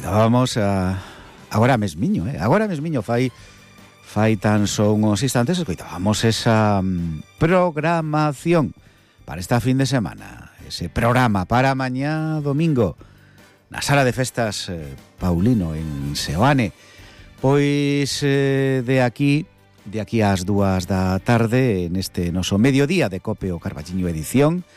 escoitábamos agora mesmiño, fai tan só uns instantes escoitábamos esa programación para esta fin de semana, ese programa para mañá domingo na Sala de Festas Paulino en Seoane. Pois de aquí ás 2 da tarde, neste noso mediodía de Cope o Carballiño edición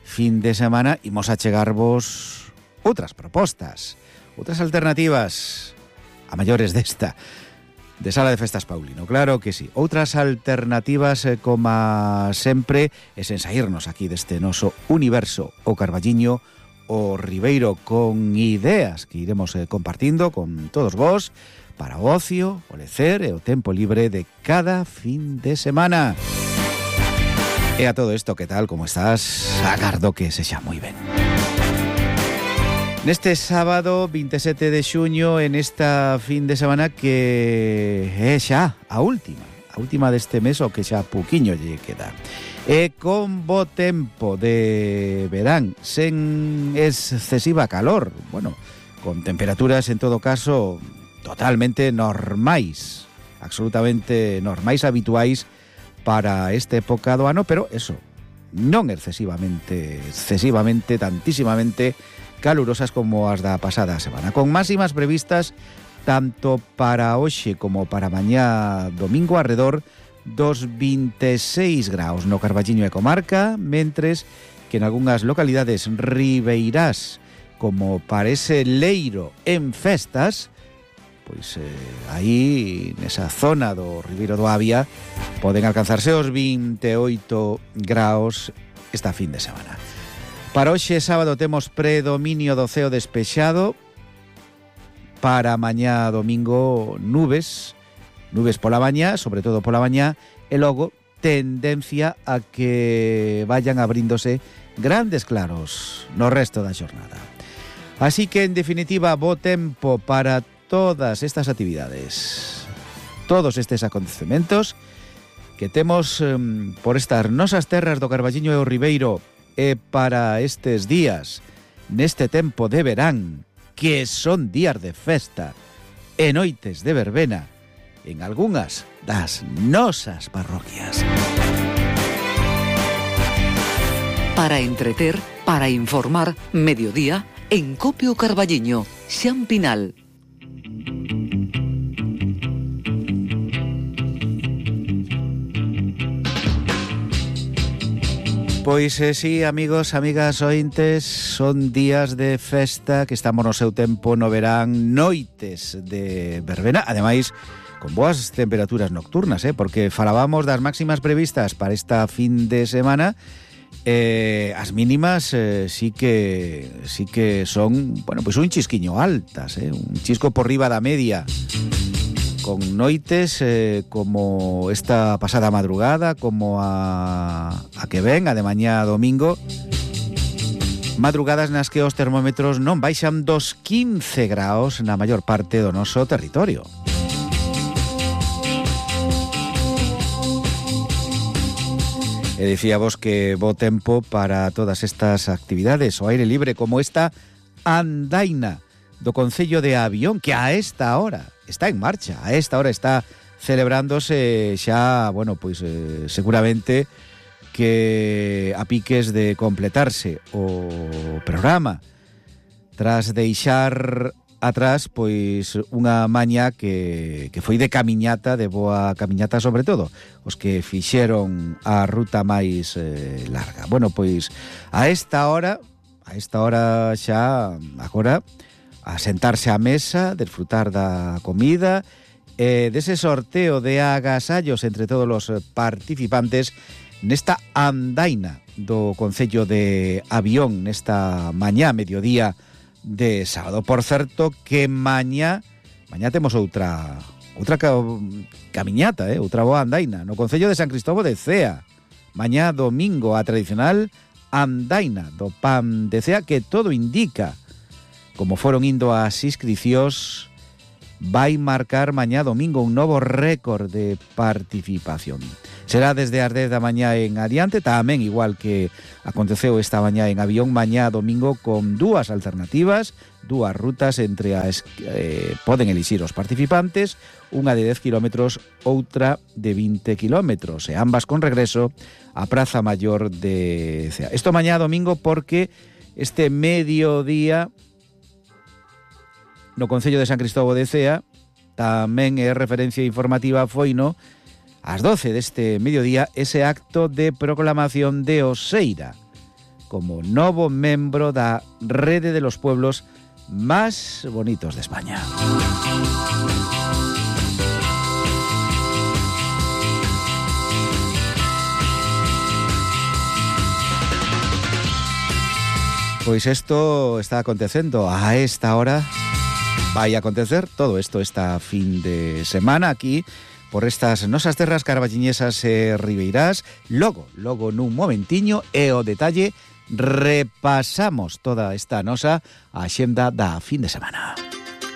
fin de semana, imos a chegarvos outras propostas, outras alternativas a maiores desta de Sala de Festas Paulino, claro que sí. Outras alternativas, como sempre, e sen saírnos aquí deste noso universo o Carballiño, o Ribeiro, con ideas que iremos compartindo con todos vos para o ocio, o lecer e o tempo libre de cada fin de semana. E a todo isto, que tal, como estás? Agardo que sexa moi ben. Neste sábado 27 de xuño, en esta fin de semana que é xa a última deste mes, o que xa pouquiño lle queda. E con bo tempo de verán, sen excesiva calor, bueno, con temperaturas en todo caso totalmente normais, absolutamente normais, habituais para esta época do ano, pero eso, non excesivamente, tantísimamente calurosas como as da pasada semana, con máximas previstas tanto para hoxe como para mañá domingo arredor dos 26 graus no Carballiño e comarca, mentres que en algunhas localidades ribeirás como para ese Leiro en festas, pois aí nesa zona do Ribeiro do Avia poden alcanzarse os 28 graus esta fin de semana. Para hoxe sábado temos predominio do ceo despexado, para mañá domingo nubes pola mañá, sobre todo pola mañá, e logo tendencia a que vayan abríndose grandes claros no resto da xornada. Así que, en definitiva, bo tempo para todas estas actividades, todos estes acontecementos que temos por estas nosas terras do Carballiño e o Ribeiro, e para estes días, neste tempo de verán, que son días de festa e noites de verbena en algunhas das nosas parroquias. Para entreter, para informar, mediodía, en Cope o Carballiño, Xan Pinal. Pois sí, amigos, amigas, ointes, son días de festa que estamos no seu tempo no verán, noites de verbena, ademais con boas temperaturas nocturnas, porque falábamos das máximas previstas para esta fin de semana, as mínimas sí que son, bueno, pois un chisquiño altas, un chisco por riba da media, con noites como esta pasada madrugada, como a que ven, a de mañá domingo, madrugadas nas que os termómetros non baixan dos 15 graus na maior parte do noso territorio. E dicíamos que bo tempo para todas estas actividades, o aire libre, como esta andaina do concello de Avión, que a esta hora está en marcha, a esta hora está celebrándose xa, bueno, pois seguramente que a piques de completarse o programa, tras deixar atrás pois unha maña que foi de camiñata, de boa camiñata, sobre todo os que fixeron a ruta máis larga. Bueno, pois a esta hora xa agora a sentarse á mesa, desfrutar da comida, dese sorteo de agasallos entre todos os participantes nesta andaina do concello de Avión, nesta mañá, mediodía de sábado. Por certo, que mañá temos outra camiñata, outra boa andaina no concello de San Cristóbal de Cea. Mañá domingo, a tradicional andaina do Pan de Cea, que todo indica, como foron indo as inscricións, vai marcar mañá domingo un novo récord de participación. Será desde as 10 da mañá en adiante, tamén igual que aconteceu esta mañá en Avión, mañá domingo con dúas alternativas, dúas rutas entre as poden elixir os participantes, unha de 10 kilómetros, outra de 20 kilómetros, e ambas con regreso a Praza Maior de Cea. Isto mañá domingo porque este mediodía no Concello de San Cristóbal de Cea tamén é referencia informativa foino ás 12 deste mediodía ese acto de proclamación de Oseira como novo membro da rede de los pueblos más bonitos de España. Pois isto está acontecendo a esta hora. Vai acontecer todo isto esta fin de semana aquí por estas nosas terras carballiñesas e ribeirás. Logo nun momentiño e o detalle repasamos toda esta nosa axenda da fin de semana.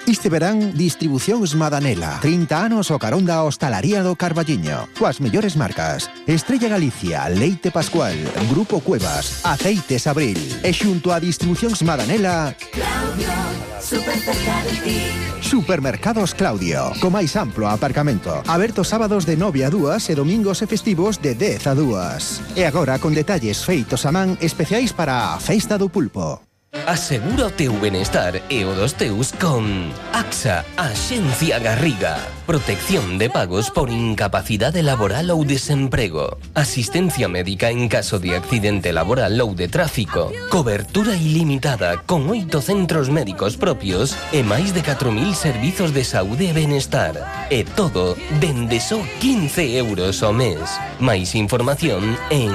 Este verán, Distribucións Madanela. 30 anos o carón da hostalaría do Carballiño. Coas mellores marcas. Estrella Galicia, Leite Pascual, Grupo Cuevas, Aceites Abril. E xunto a Distribucións Madanela... Claudio, super cerca de ti. Supermercados Claudio. Co máis amplo aparcamento. Aberto sábados de 9 a 2 e domingos e festivos de 10 a 2. E agora con detalles feitos a man especiais para a Festa do Pulpo. Asegura o teu benestar e o dos teus con AXA, Axencia Garriga. Protección de pagos por incapacidade laboral ou desemprego. Asistencia médica en caso de accidente laboral ou de tráfico. Cobertura ilimitada con 8 centros médicos propios e máis de 4.000 servizos de saúde e benestar. E todo dende só 15 euros ao mes. Máis información en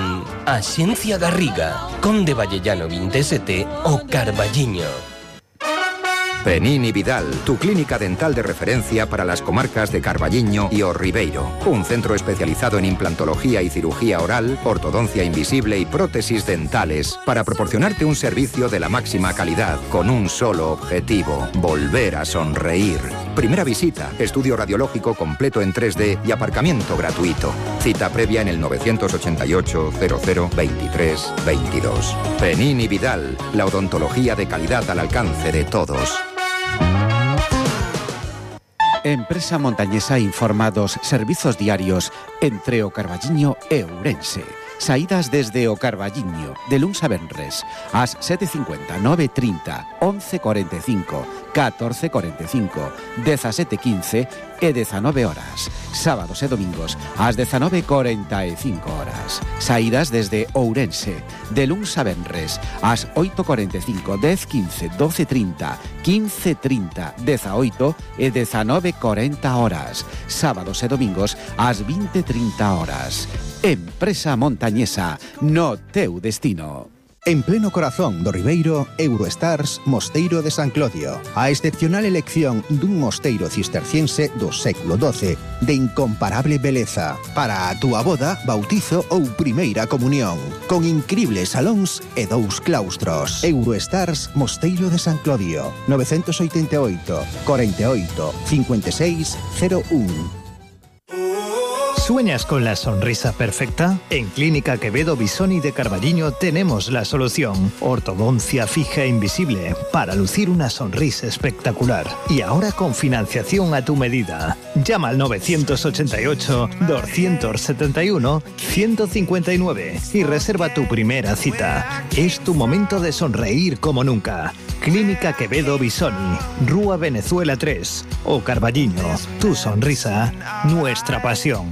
Axencia Garriga, Conde Vallellano 27 o Carballiño. Penín y Vidal, tu clínica dental de referencia para las comarcas de Carballiño y O Ribeiro. Un centro especializado en implantología y cirugía oral, ortodoncia invisible y prótesis dentales para proporcionarte un servicio de la máxima calidad con un solo objetivo: volver a sonreír. Primera visita, estudio radiológico completo en 3D y aparcamiento gratuito. Cita previa en el 988 00 23 22. Penín y Vidal, la odontología de calidad al alcance de todos. Empresa Montañesa informa dos servizos diarios entre o Carballiño e Ourense. Saídas desde o Carballiño, de luns a venres, ás 7:50, 9:30, 11:45, 14:45, 17:15 e 19 horas. Sábados e domingos, ás 19:45 horas. Saídas desde Ourense, de luns a venres, ás 8:45, 10:15, 12:30, 15:30, 18 e 19:40 horas. Sábados e domingos, ás 20:30 horas. Empresa Montañesa, no teu destino. En pleno corazón do Ribeiro, Eurostars Mosteiro de San Clodio. A excepcional elección dun mosteiro cisterciense do século XII de incomparable beleza para a túa boda, bautizo ou primeira comunión, con incribles salóns e 2 claustros. Eurostars Mosteiro de San Clodio, 988 48 56 01. ¿Sueñas con la sonrisa perfecta? En Clínica Quevedo Bisoni de Carballiño tenemos la solución. Ortodoncia fija e invisible para lucir una sonrisa espectacular. Y ahora con financiación a tu medida. Llama al 981-271-159 y reserva tu primera cita. Es tu momento de sonreír como nunca. Clínica Quevedo Bisoni, Rúa Venezuela 3 o Carballiño. Tu sonrisa, nuestra pasión.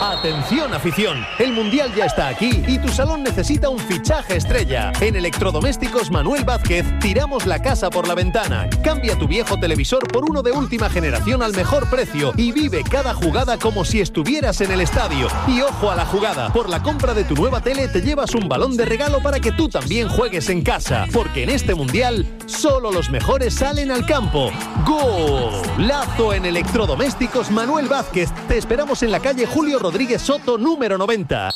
Atención afición, el Mundial ya está aquí y tu salón necesita un fichaje estrella. En Electrodomésticos Manuel Vázquez tiramos la casa por la ventana. Cambia tu viejo televisor por uno de última generación al mejor precio y vive cada jugada como si estuvieras en el estadio. Y ojo a la jugada, por la compra de tu nueva tele te llevas un balón de regalo para que tú también juegues en casa. Porque en este Mundial solo los mejores salen al campo. ¡Golazo en Electrodomésticos Manuel Vázquez! Te esperamos en la calle Julio Rodríguez Soto número 90.